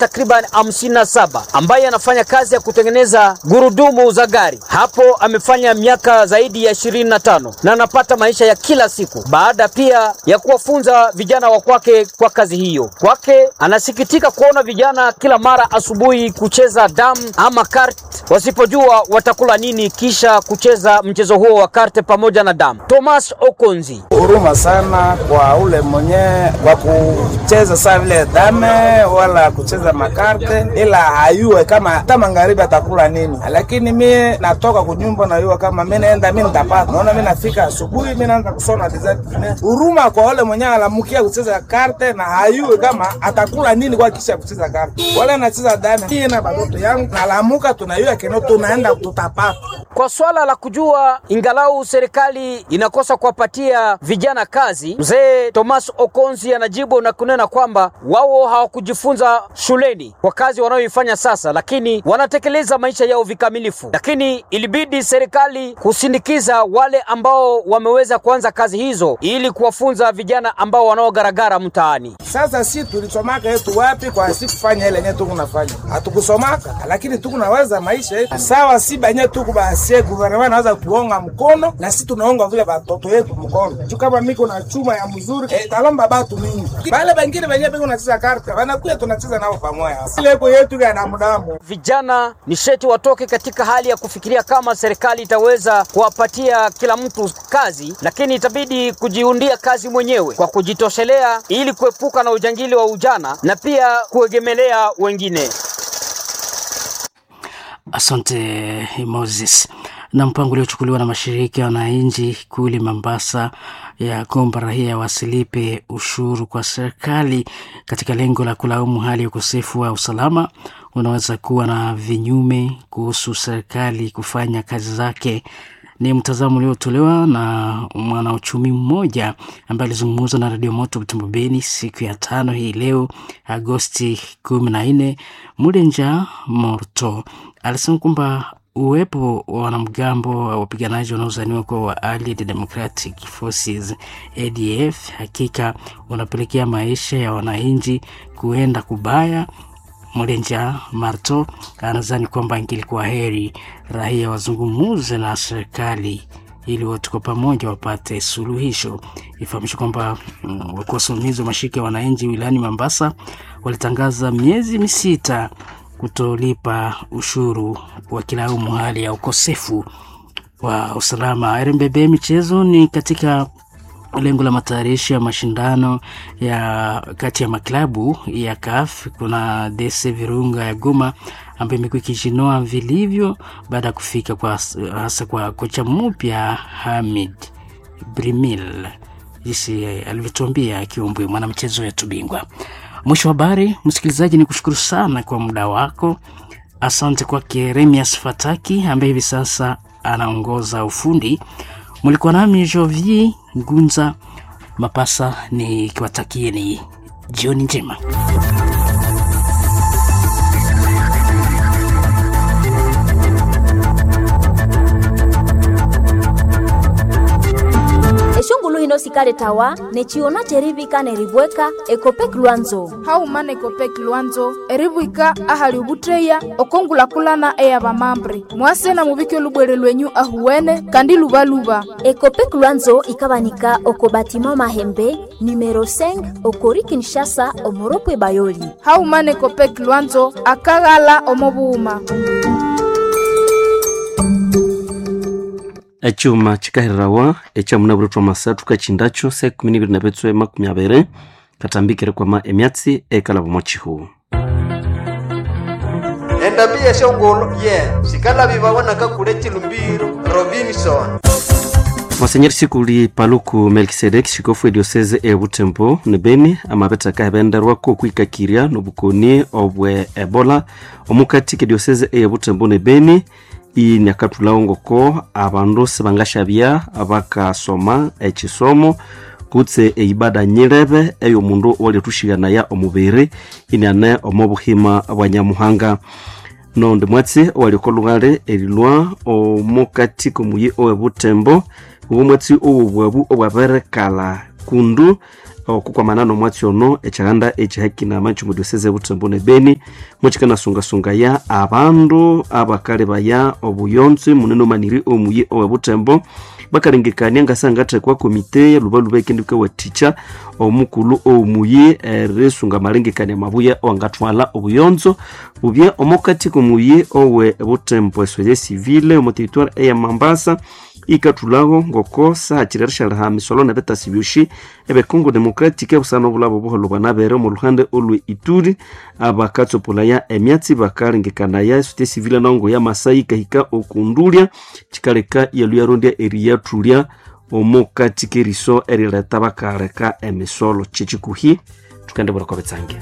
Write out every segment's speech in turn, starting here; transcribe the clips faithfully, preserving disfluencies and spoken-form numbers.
takriban hamsini na saba ambaye anafanya kazi ya kutengeneza gurudumu za gari. Hapo amefanya miaka zaidi ya ishirini na tano na anapata maisha ya kila siku, baada pia ya kuwafunza vijana wa kwake kwa kazi hiyo. Kwake anasikitika kuona vijana kila mara asubuhi kucheza damu ama kart, wasipojua watakula nini kisha kucheza mchezo huo wa karte pamoja na damu. Thomas Okonzi: huruma sana kwa ule mwenye kwa kucheza saa vile dame wala kucheza makarte, ila hayue kama hata magharibi atakula nini. Lakini mie natoka kunyumba nayua kama mimi naenda mimi nitapata. Naona mimi nafika asubuhi mimi naanza kusona design. Huruma kwa ule mwenye alamukia kucheza karte na hayue kama atakula nini kwa kisha kucheza karte. Wala anacheza dame mie na batoto yangu nalamuka tunayua keno tunaenda tutapata. Kwa swala la kujua ingalau serikali inakosa kuwapatia vijana kazi, mzee Thomas Okonzi anajibu na kunena kwamba wao hawakujifunza shuleni kwa kazi wanayoifanya sasa, lakini wanatekeleza maisha yao vikamilifu. Lakini ilibidi serikali kusindikiza wale ambao wameweza kuanza kazi hizo ili kuwafunza vijana ambao wanaogaragara mtaani. Sasa si tulisomaka yetu wapi kwa si kufanya ile yenyewe tukunafanya? Hatukusomaka, lakini tukunaweza maisha yetu. Sawa, si benye tukubaasie gouvernement naweza kuonga mkono na si tunaonga vile batoto yetu mkono. Tu kama miko na chuma ya mzuri eh, talomba batu mingi. Bale bengine benye biko nacheza karta, wanakuya tunacheza nao pamoja. Ile iko yetu ya damu. Vijana ni sheti watoke katika hali ya kufikiria kama serikali itaweza kuwapatia kila mtu kazi, lakini itabidi kujiundia kazi mwenyewe kwa kujitoshelea ili kuepuka na ujangili wa ujana na pia kuegemelea wengine. Asante Moses. Na mpango uliochukuliwa na mashirika ya wananchi kule Mombasa ya kwamba raia wasilipe ushuru kwa serikali katika lengo la kulaumu hali ya ukosefu wa usalama unaweza kuwa na vinyume kuhusu serikali kufanya kazi zake. Ni mtazamo uliotolewa na mwanauchumi mmoja ambaye alizungumza na Radio Moto Butembo Beni siku ya tano hii leo Agosti kumi na nne. Mulenja Morto alisema kwamba uwepo wa wanamgambo wa wapiganaji wanaozaniwa kuwa wa Allied Democratic Forces A D F hakika unapelekea maisha ya wananchi kuenda kubaya. Mulenja Marto anadhani kwamba ingelikuwa heri raia wazungumuze na serikali ili wote kwa pamoja wapate suluhisho. Ifahamishwe kwamba mm, wakuu wasimamizi wa mashirika ya wananchi wilayani Mombasa walitangaza miezi misita kutolipa ushuru wakilaumu hali ya ukosefu wa usalama. R M B B michezo ni katika lengo la matayarisho ya mashindano ya kati ya maklabu ya C A F. Kuna D C Virunga ya Goma ambayo imekuwa ikijinoa vilivyo baada ya kufika kwa hasa kwa kocha mpya Hamid Brimil, jinsi alivyotuambia Kiombwe, mwanamchezo wetu bingwa. Mwisho wa habari, msikilizaji, ni kushukuru sana kwa muda wako. Asante kwake Remias Fataki ambaye hivi sasa anaongoza ufundi. Mlikuwa nami Jovi Ngunza Mapasa nikiwatakieni jioni njema. Eshungulu hino sikale tawa nechiona cherivika neribweka ekopek lwanzo haumana ekopek lwanzo eribwika ahali ubutreya okongulakulana eyabamambre mwase na mubike lubwere lwenyu ahuwene kandi lubaluba. Ekopek lwanzo ikabanika oko batima mahembe numero cinq okori Kinshasa omoropwe bayoli. Haumana ekopek lwanzo akaghala omobuuma. Echuma chikaherawa echamuna bulutwa masathu kachindacho se kumi n'ibiri na bitswe makumi abiri katambikire kwama emyatsi ekalaba omo chihu. Endabi yeshongolo ye sikala bibawona kakule chilumbiro Robinson. Monsenyeri Sikuli Paluku Melkisedek shikofu edioseze e Butembo ne Beni amabeta kabenderwako kwikakirya nobukoni obwe Ebola omukati ke dioseze e Butembo ne Beni inyakatulawo ngoko abandu sibangashabya abakasoma ekisomo kutse eibada nyirebe eyomundu owalithushiganaya omubiri iniane omobuhima bwa Nyamuhanga. Nondi mwatsi owaliko lughale erilwa omukati komuyi owe Butembo obwo mwatsi owobwabu obwaberekala kundu okukwamana nomwatsi ono ekyahanda ekyihakina kyomu diocese Butembo ne Beni mukikanasungasungaya abandu abakalebaya obuyonzo munene omaniri omuyi owe Butembo bakalengekania ngasangathekwa komite lubaluba ekendika wathikya omukulhu omuyi erisunga amalengekania mabuya owangathwalha obuyonzo bubya omukati komuyi owe Butembo. Esoye civile omu territoire eya Mambasa ikathulhaho ngoko sahakiri erishalha misolo nebitasi byosi ebe Congo Democratic busana obulabo obuholho bwanabere omu luhande olwe Ituri. Abakatsopolaya emyatsi bakalengekanaya esociété civile nongo ya Masai ikahika okundulya kikaleka yaluyarondya eriyathulya omukati keriso erileta bakaleka emisolo. Kyekikuhi tukendibwera kwabitsange.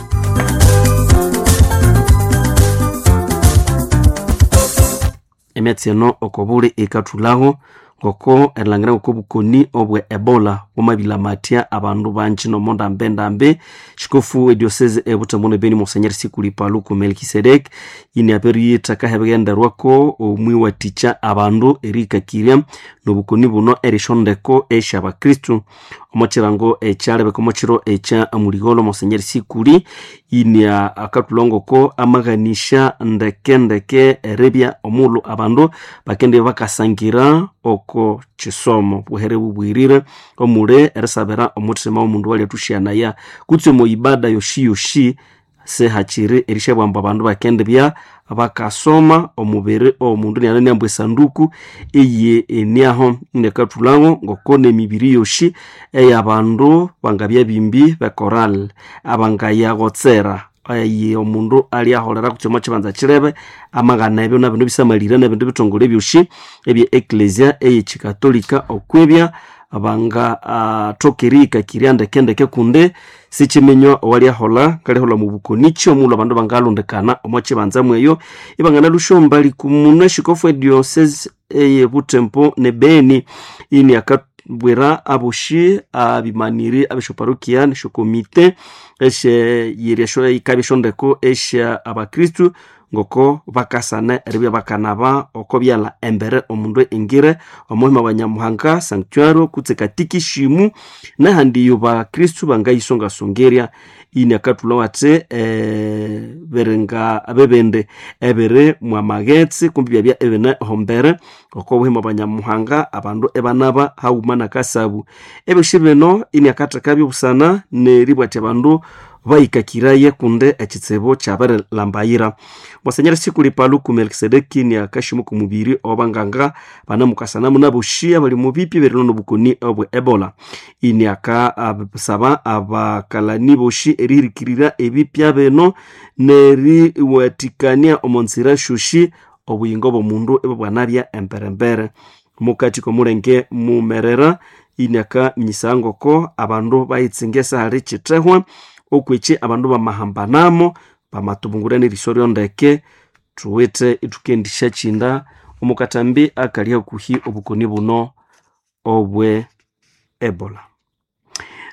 Emyatsi eno okobuli ikathulhaho ngoko erilhangira ngoko obukoni obwe Ebola bwamabilamatya abandu bangi nomo ndambe-ndambe. Xikofu ediocese e Butembo ne Beni Monsenhor Sikuli Paluku Melkisedek ini abiriyithaka hebighenderwako omwiwathikya abandu erihikakirya nobukoni buno erishondeko esyabakristu omo kirango ekyalebeka omo kiro ekya muligholo. Monsenhor Sikuli ini akathulha ngoko amaghanisya ndeke-ndeke eribya omughulhu abandu bakendibya bakasangira oko kisomo buhere bubwirire omuli erisabira omuthima womundu walyathushyanaya kutse omo ibada yoshi yoshi sihakiri erisyabwamba abandu bakendibya bakasoma omubiri omundu niananiamba esanduku eye eniaho. Nekathulhaho ngoko nemibiri yoshi eyabandu bangabya bimbi bekoral abangayaghotsera eye omundu alyaholera kutse omo kibanza kirebe amaghana ebyo nabindu bisamalire nebindu bithongole byosi ebye eklesia eyekikatolika okwibya bangathoka erihikakirya ndekendeke kundi sikiminywa owalyahola ngalyahola mubukonichi omughulhu abandu bangalondekana omo kibanza mweyo ibanganalusyombali kumunu. Eshikofu ediocese eye Butembo ne Beni ini akabwira aboshi abimaniri abesyoparokia nesyokomite esyeyirya ikabya esyondeko esya abakristu ngoko bakasana eribya bakanaba oko byalha embere omundu engire omuhima wa Nyamuhanga sanctuario kutse katikishimu nahandi iyo bakristu bangayisongasongerya. Ini akathulha athi eh, biringa bibindi ebiri mwamaghetse kumbi byabya ebine hombere oko buhima bwa Nyamuhanga abandu ebanaba haghuma nakasabu. Ebyosi bino ini akathekabyo busana neribwathya abandu bahikakiraye kundi ekitsibu kyabirilhambayira. Monsenyeri Sikuli Paluku Melkisedeki ni akashimu kumubiri obanganga banamukasanamu naboshi abali mubipi berino nobukoni obwe Ebola. Ini akasaba abakalani boshi erihirikirira ebipya bino neriwathikania omo nzira syosi obuyingo bw'omundu ibwabwanabya emberembere. Mukati komulenge mumerera ini akaminyisa ngoko abandu bayitsinga esahali kithehwa okwekyi abandu bamahambanamo bamatubungura neriso ryondeke thuwithe ithukendisya kyinda omukatambi akali hakuhi obukoni buno obwe Ebola.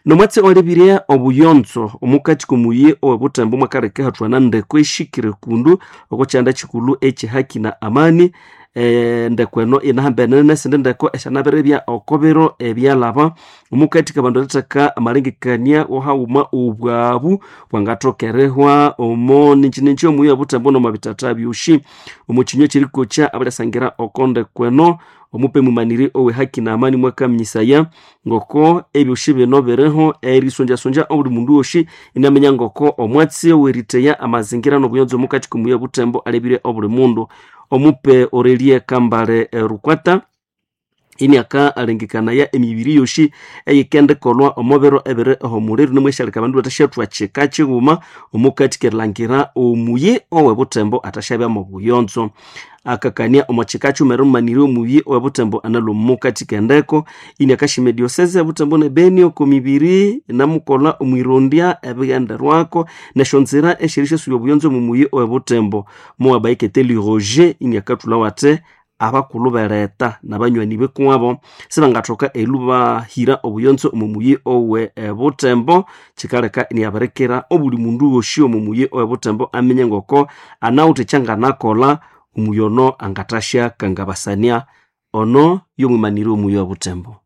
Nomwatsi olebirye obuyonzo omukati komuyi owe Butembo mwakaleka hathwana ndeko eshikire kundu oko kyanda kikulhu ekyihaki na amani. E, ndeko eno inahambene nesindi ndeko esyanabiribya oko biro ebyalhaba omukati kabandu eritheka amalengekania wohaghuma obwabu bwangathoka erihwa omo ninjininji omuyi owe Butembo nomwabithatha byosi. Omo kinywa ekyerikokya abalyasangira oko ndeko eno omupe mumaniri owe haki na amani mwakaminyisaya ngoko ebyosi bino biriho erisonjasonja obuli mundu wosi inaminya ngoko omwatsi oweritheya amazingira nobuyonzo omukati komuyi owe Butembo alebire obuli mundu. Omupe Aurelie Kambale Rukwata ini akalengekanaya emibiri yosi eyikendikolwa omo biro ebiri ehomuliro nimweshaleka abandu bathasyathwa kika kighuma omukati kerilhangira omuyi owe Butembo athasyabya mobuyonzo. Akakania omo kika kyuma erimumanirya omuyi owe Butembo analwa omukati kendeko. Ini akashima ediosese Butembo ne Beni oko mibiri namukolha omwirondya ebighenderwako nesyonzira esyerisyasuya obuyonzo omu muyi owe Butembo. Mowabayikete Roger ini akathulha wathi abakulhu bereta nabanywani bikuwabo sibangathoka elu bahira obuyonzo omu muyi owe Butembo kikaleka iniyabirikira obuli mundu wosi omu muyi owe Butembo aminye ngoko anawithe ekyanganakolha omuyi ono angathasya kangabasania ono yomwimaniri omuyi owe Butembo.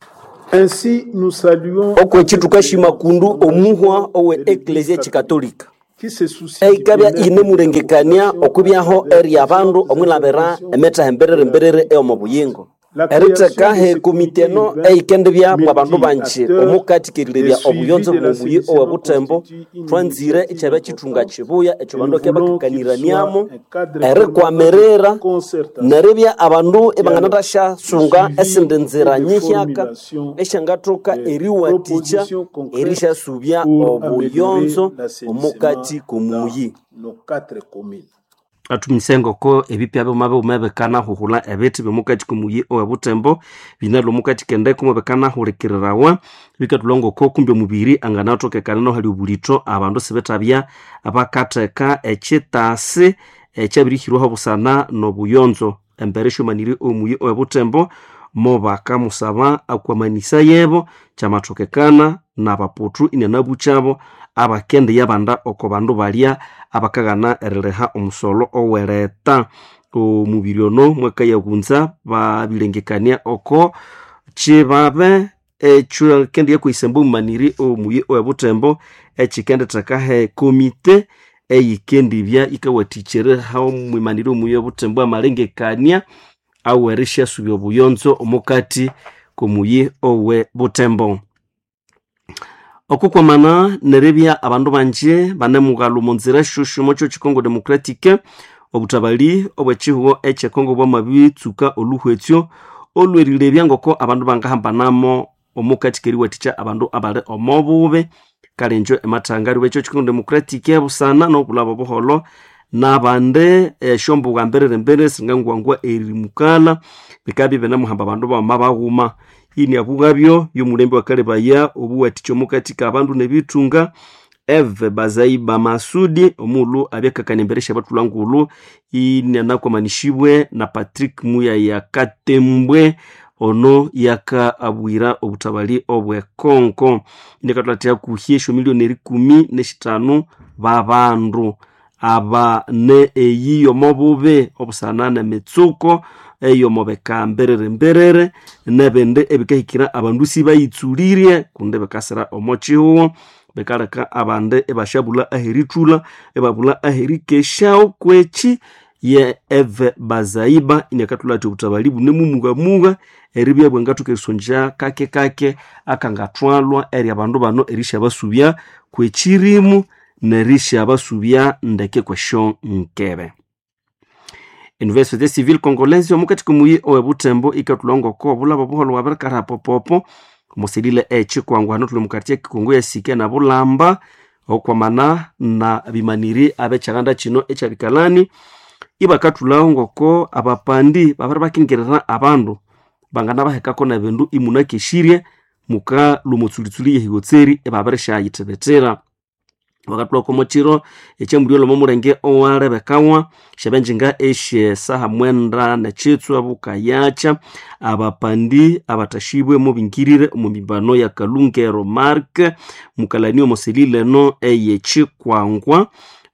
Ainsi, nous saluons Okwekyi thukashima kundu omuhwa owe eklesia chikatolika qui se soucie du eikabya bien-être inemulengekania okwibyaho eri abandu omwilabira emithaha emberere mberere eyomo buyingo eritheka he komite eno eikendibya mwa bandu banji omukati kerilebya obuyonzo bw'omuyi owe Butembo. Twanzire ikyabya kithunga kibuya ekyo bandu bakabya bakakaniraniamo erikwamirira neribya abandu ibanganathasyasunga esindi nzira nyihyaka esyangathoka eriwathikya erisyasubya obuyonzo omukati k'omuyi. Nos quatre communes. Athumise ngoko ebipya byuma bighuma bikanahuhulha ebithi byomukati komuyi owe Butembo binalwa omukati kendeko mubikanahulikirirawa bikathulha ngoko kumbi omubiri anganathokekana nohali obulitho abandu sibithabya bakatheka ekyitasi ekyabirihirwaho busana nobuyonzo. Embere esyomaniri omuyi owe Butembo mobakamusaba akwamanisa yebo kyamathokekana nabaputhu inanabukyabo abakendiya banda oko bandu balya abakaghana eririha omusolo owereta. Omubiri ono mwakayabunza babilengekania oko kibabe ekyo kendiya kwisemba omumaniri omuyi owe Butembo ekikenditheka he komite eyikendibya yikawathikya omwimaniri omuyi owe Butembo amalengekania awerishyasubya obuyonzo omukati komuyi owe Butembo. Okukwamana neribya abandu banje banemughalha omu nzira shushu omwa kyo Congo Democratic, obutabali obwekihugho ekye Congo bwamabitsuka oluhwetsyo olwerilebya ngoko abandu bangahambanamo omukati keriwathikya abandu abali omo bubi. Kale injo emathanga ariwe ekyo Congo Democratic busana nobulaba obuholho nabandi esyombugha mbiriri mbiriri singangwangwa erimukala bikabya ibinemuhamba abandu bawuma baghuma. Iniabughabyo yomulembe wakalebaya obuwathikya omukati kabandu nebithunga Eve Bazaiba Masudi omughulhu abyakakania embere syabathulha ngulhu inanakwamanishibwe na Patrick Muyaya Katembwe ono yakaabwira obutabali obwe Congo. Inakathulathira hakuhi esyomiliyoni erikumi neshithanu babandu aba ne eyi yomobubi obusana nemitsuko eyomobeka mbiriri mbiriri nebindi ebikahikira abandu sibayitsulirye kundi bikasira omo kihugho bikaleka abandi ibashabulha aherithulha ibabulha aherikesyaho. Kwekyi ye Eve Bazaiba inakathulha athi obutabali bunemumughamuga eribya bwangathoka erisongya kake kake akangathwalwa eri abandu bano erisyabasubya kwekyirimu nerisyabasubya ndeke kwesyo nkebe. Université Civile Congolaise omukati komuyi owe Butembo ikathulha ngoko obulaba obuholho bwabirikalha popopo omusilile ekyikwangwa hano thuli mukati ekikungu yasike na Bulamba okwamana na bimaniri abekyalanda kino ekyabikalani ibakathulhaho ngoko abapandi babiri bakingirira abandu banganabahekako nebindu imunakesirye mukalhwa omutsulitsuli yehigotseri ibabirishayithibitira. Bakathulhako omukiro ekyamulyola omomulenge owalebekawa syabenjinga esyesaha mwenda nekyitswa bukayakya abapandi abathashibwe mubingirire omu mimbano ya Kalungero Mark mukalani omusilileno eyekyikwangwa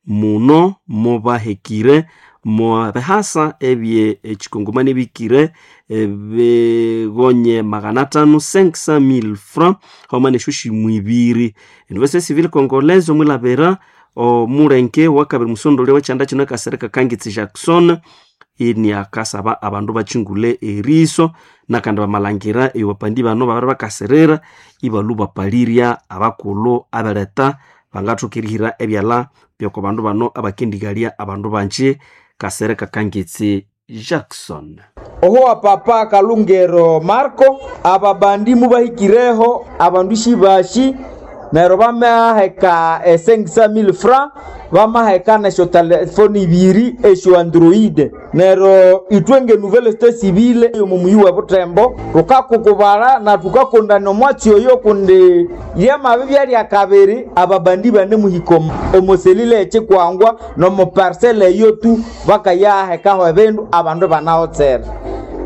muno mubahekire mubihasa ebye ekikongomani ebikire ebigonye magana atano cinq cent mille francs hauma nesyo shimwibiri. Université Civile Congolaise omwilabira omulenge wakabiri musondolya wekyanda kino ekasereka Kangitsi Jackson iniakasaba abandu bakyingule eriso nakandi bamalangira eyo bapandi bano babiri bakasirira ibalhu bapalirya abakulhu abereta bangathoka erihira ebyalha byoko bandu bano abakendigalya abandu banji. Kasereka Kangitsi Jackson. Oho papa Kalungero Marco ababandi mubahikireho abandu shibashi neryo bamaheka e cinq cent mille francs bamaheka nesyo telefoni ibiri esyo android. Neryo ithwe nge nouvelle société civile yomu muyi we Butembo tukakukubala na tukakondana omwatsi oyo kundi lyamabibya lyakabiri ababandi banemuhika omuselile ekyikwangwa nomu parcelle eyo tu bakayahekaho ebindu abandu banahotsera.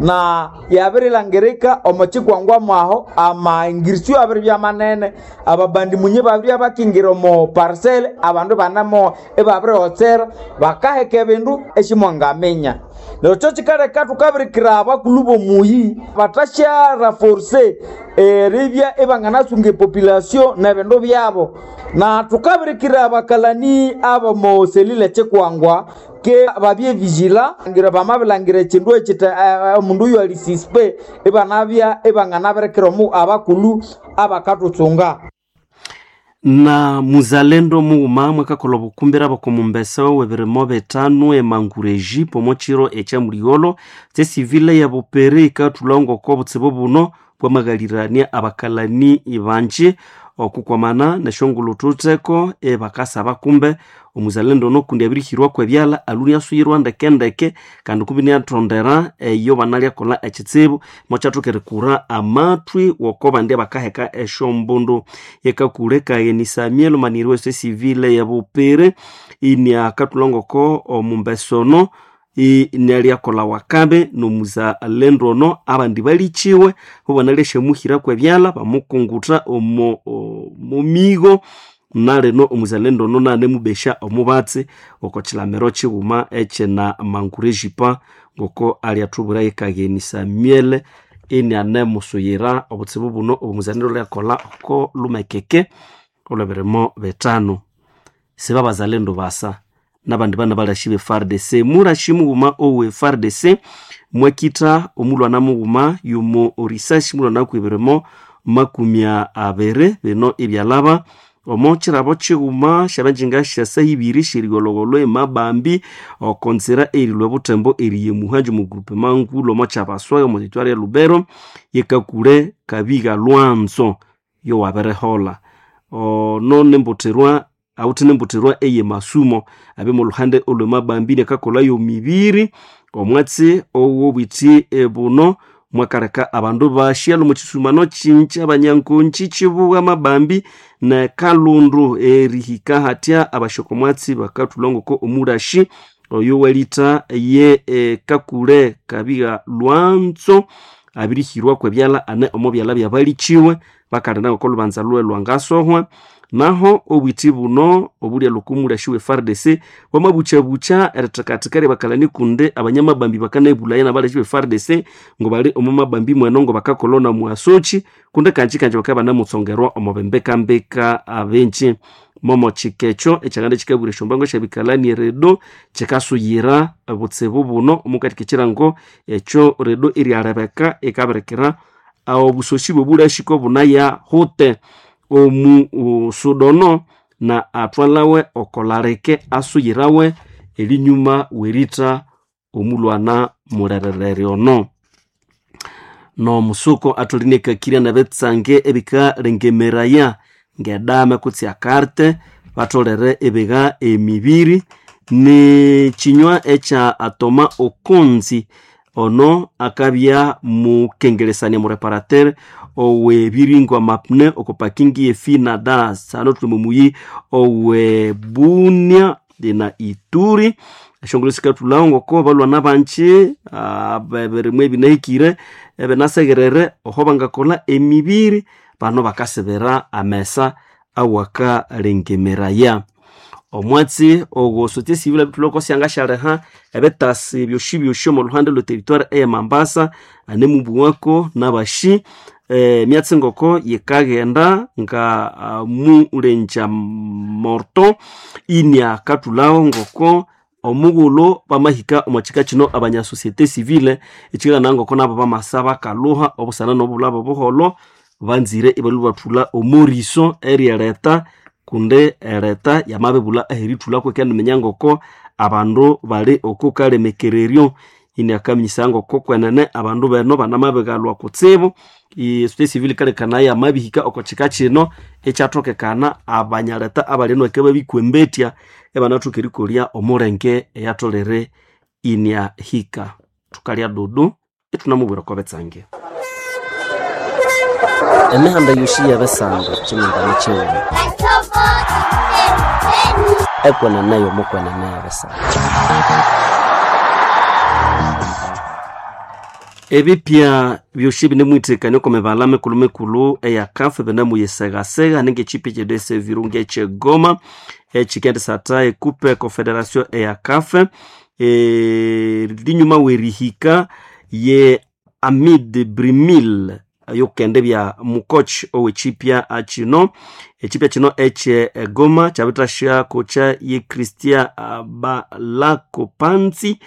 Na yabirilangirika omo chikwangwa mwaho amaingirisyo abiri bya manene ababandi munye babiri abakingira omo parcel abandu banamo ebabirihotsera bakaheka ebindu eshimwangaminya. Neryo kyo kikaleka tukabirikira abakulu b'omuyi batasyaraforce eribya ibanganasunga epopulation n'ebindu byabo. Na tukabirikira abakalani abomo selile chikwangwa ke babye vigila ngira bamabilangira ekindu ekita omundu oyo ali suspect ibanabya ibanganabirikira omu abakulu abakatutsunga. Na muzalendo mughuma mwakakola obukumbira bokomumbesa w'ebirimo bitano emangureji omo kiro ekyamuligholo tsesivile ya bupere ikathulha ngoko obutsibu buno bwamaghalirania abakalani banji okukwamana nesyongulhu thutheko ebakasaba kumbe omuzalendo ono kundi abirihirwaku ebyalha aluni asuyirwa ndekendeke kandi kumbi niathondera eyo banalyakolha ekitsibu mokyathoka erikura amathwi woko bandi abakaheka esyombundu. Yekakule kagheni Samuel maniri wese civile ya bupere iniakathulha ngoko omumbesa ono inalyakolha wakabi nomuzalendo ono abandi balikiwe bo banalyasyamuhiraku ebyalha bamukungutha omo omumigo nalino omuzalendo ono nanemubesya omubatsi oko kilamiro kighuma ekyina mangurejipa ngoko alyathubwira yekagheni Samuel inianemusuyira obutsibu buno obumuzalendo lyakolha oko lumekeke olw'ebirimo bitano. Siba bazalendo basa nabandi bana balashi be F A R D C murashi mughuma owe F A R D C mwakitha omulwana mughuma yumo orisashi mulwana kwibirimo makumi abiri bino ebyalaba omo kirabo kighuma syabanjinga syasa ibiri syerigholhogholho emabambi okonzira erilwa butembo eriye muhanji mu grupe mangulo omo kyabaswa omo territoire ya Lubero yekakule kabiga lwanzo yowabirihola ono nembuthirwa awuthi nembuthirwa eye masumo abe mu luhande olwemabambi nekakolha yomibiri omwatsi owobwithi buno mwakaleka abandu bashyalha omu kisumano kinji abanyankonji kibuwa mabambi ne kalundu erihika hatya abashoko omwatsi bakathulha ngoko omulashi oyo walitha ye e, kakule kabiga lwanzo abirihirwaku ebyalha ane omo byalha byabalikiwe bakalinda ngoko olubanza lwe lwangasohwa. Naho obwithi buno obulya lukumulashi we F A R D C bwamabuchabucha erithakathika ryabakalani kundi abanyamabambi bakanebulaya nabalashi be F A R D C ngo bali omu mabambi mweno ngo bakakolona mwasochi kundi kanji kanji bakaba banamutsongerwa omu bimbikambika abenji momo kikekyo ekyanganda kikabwira esyombango syabikalani eredo kikasuyira obutsibu buno omukati kikirango ekyo redo eryalebeka ikabirikira obusosi bwobulashiko bunaya hute omu sudono na athwalawe okolareke asuyirawe elinyuma weritha omulwana mulererere ono. Nomusuko atholinekakirya nebitsange ebikalengemeraya ngedame kutse akarte batholere ibiga emibiri nekinywa ekya atoma okonzi ono akabya mukengelesania mureparateur owebiringwa mapne okopakingi efina das ano tuli mumuyi owe Bunia na Ituri eshongolo sikathulhawo ngoko balwana banji bebirimwa ebinahikire ebinasegerere oho bangakolha emibiri bano bakasibira amesa awakalengemeraya. Omwatsi ogwo société civile abithulhako syangasyaliha ebitasi byosi byosi omo luhande lwe territoire eye Mambasa anemubuwako nabashi emyatsi ngoko yikaghenda nga uh, mulenja morto iniakathulhawo ngoko omughulhu bamahika omo kika kino abanya société civile ekikana ngoko nabo bamasa bakalhuha obusana nobulhabo obuholho banzire ibalhwa bathulha omoriso eryereta kundi ereta yamabibulha aherithulhako ikaniminya ngoko abandu bali oko kalemekereryo iniakaminyisa ngoko kwenene abandu beno banamabigalhwa kutsibu. Société civile ikalekana yamabihika oko kika kino ekyathokekana abanyaleta abali enoke babikwembetya ebanathoka erikolya omulenge eyatholere iniahika. Thukalya dudu ithunamubwira oko bitsange. Emihanda yosi yebisando kyimindani kyighuma ekwenene yomukwenene yebisando. Ebipya byosi binemwithekania oko mibala mikulu mikulu eya C A F binemuyisegasega ningechipi kyedese Virunga ekyegoma ekikendisatha ekupe confederation eya C A F e, linyuma werihika ye Amid Brimil yokende bya mukoch owechipya kino echipya kino ekye Goma kyabithasya kocha ye Christian Balakopanzi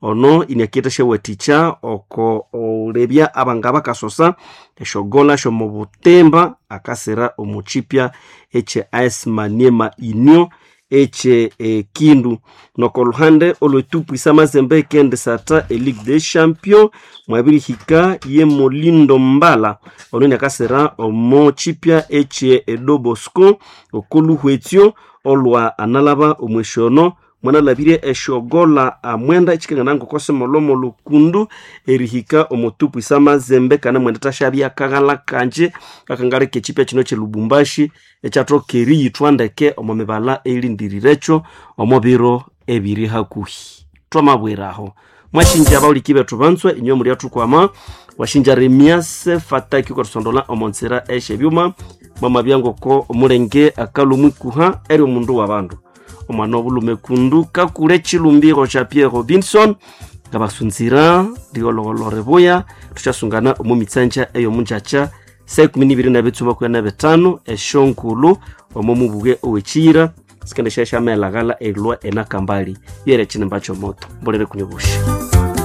ono iniakithasya wathikya oko olebya abanga bakasosa esyogola syomubutimba akasira omuchipya ekye A S Maniema Union ekye Kindu. Noko luhande olwetupwisa Mazembe ekendisatha e Ligue des Champions mwabirihika ye Molindo Mbala ono iniakasira omo chipya ekye Edo Bosco okoluhwetyo olwa analaba omwesyono mwanalabire esyogola amwenda ekikangana ngokosimolomo lukundu erihika omutupwisa Mazembe kana mwenda tashabya akaghala kanje kakangaleka ekipya kino kye Lubumbashi ekyathoka eriyithwa ndeke omo mibala elindirirekyo omo biro ebiri hakuhi. Twamabwiraho mwashinja abawuliki bethu banzwe inywe muli athukwama washinja Remias Fataki kwathusondola omo nzira esyebyuma mwamabya ngoko omulenge akalumwikuha eri omundu wa bandu omwana obulume kundu kakule chilumbiro cha Pierre Robinson ngabasunzira liologolo ribuya. Tukyasungana omu mitsanja eyomunjakya saa ikumi nibiri nabitsuma kuya na bitano esyonkulu omo mubuge owekiyira sikendesha syamelaghala erilwa enakambali yere ekinimba kyomoto mbolere kunyobusha.